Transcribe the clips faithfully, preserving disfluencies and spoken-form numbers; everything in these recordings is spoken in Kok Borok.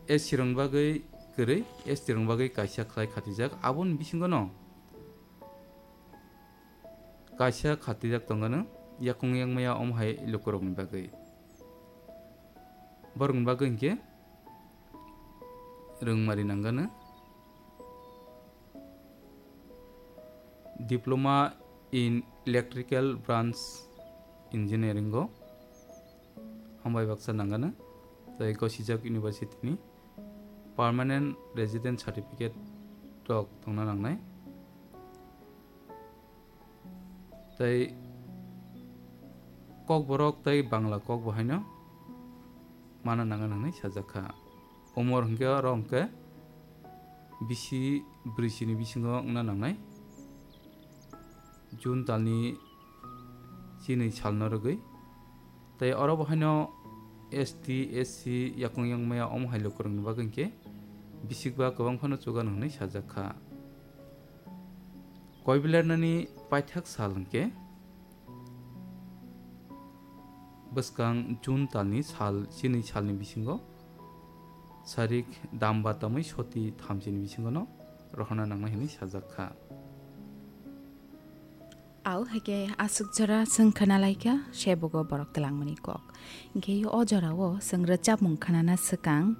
S C rok bagwi kwrwi, S T rok bagwi kaisa khlai khatijak. Aboni bisingo no kaisa khatijak tongano yakung yangmaya omo hai lukurokni bagwi. Borokni bagwi hinkhe rwngmari nangano Diploma in Electrical Branch Engineering o hambai baksa nangano, tei gosijak university ni permanent resident certificate rok tongna nangnai. Tei Kokborok tei Bangla kok bo haino mana nangna nangnai sajak kha. Umor hwnkhe oro hwnkhe bisi brwi chini bisingo wngna nangnai, June talni chinwi salno rwgwi. Tei oro bo haino S T, S C yakung yangmaya omo hai lukurokni bagwi hinkhe bisikba kwbang phano chugan hwnwi sajak kha. Koibilernani paithak sal hinkhe bwskang June talni sal, chini salni bisingo sarik damba tamwi soti thamchini bisingono rohorna nangnai hwnwi sajak kha. Au, haikhe aswk jora chwng khwnalaikha, sebogo borok twlangmani kok. Hinkhe o jorao chwng rwchapmung khwnana swkang,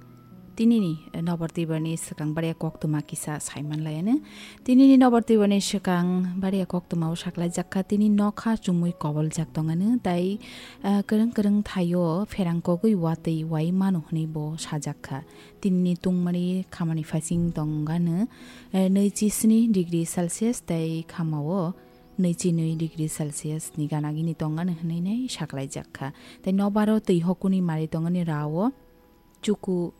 tinini Nobor Tibrani swkang bariya koktwma kisa saimanlaiano. Tinini Nobor Tibrani swkang bariya koktwmao saklaijak kha, tini nokha chumui koboljak tongano, tai, ah, kwrwng kwrwng thaio pherang kogwi watwi wai mano hwnwi bo sajak kha. Tinini tungmani khamani phasing tongano, eh, nwichi sni degree Celsius tei khamao nwichi nwi degree Celsius ni gana gini tongano hwnwi nai saklaijak kha. Tei nobaro twi hokuni mari tongani rao chuku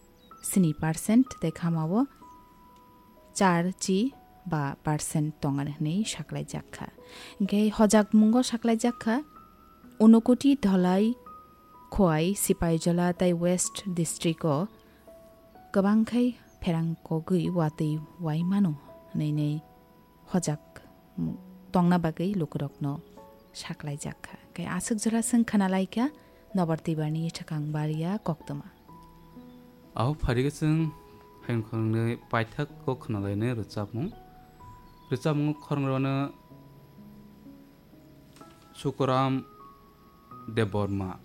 sni percent tei khamao char chi ba percent tongani hwnwi saklaijak kha. Hinkhe hojakmungo saklaijak kha, Unakoti, Dholai, Khowai, Sipaijola tei West District o kwbang khai pherang kogwi watwi wai mano hwnwi nai hojak tongna bagwi lukurokno saklaijak kha. Khe aswk jora chwng khwnalaikha Nobor Tibrani swkang bariya koktwma. Aho pharikhe chwng hayung khoroknwi paithak kok khwnalainai rwchapmung. Rwchapmungo khoroknwi rwno Sukuram Debbarma,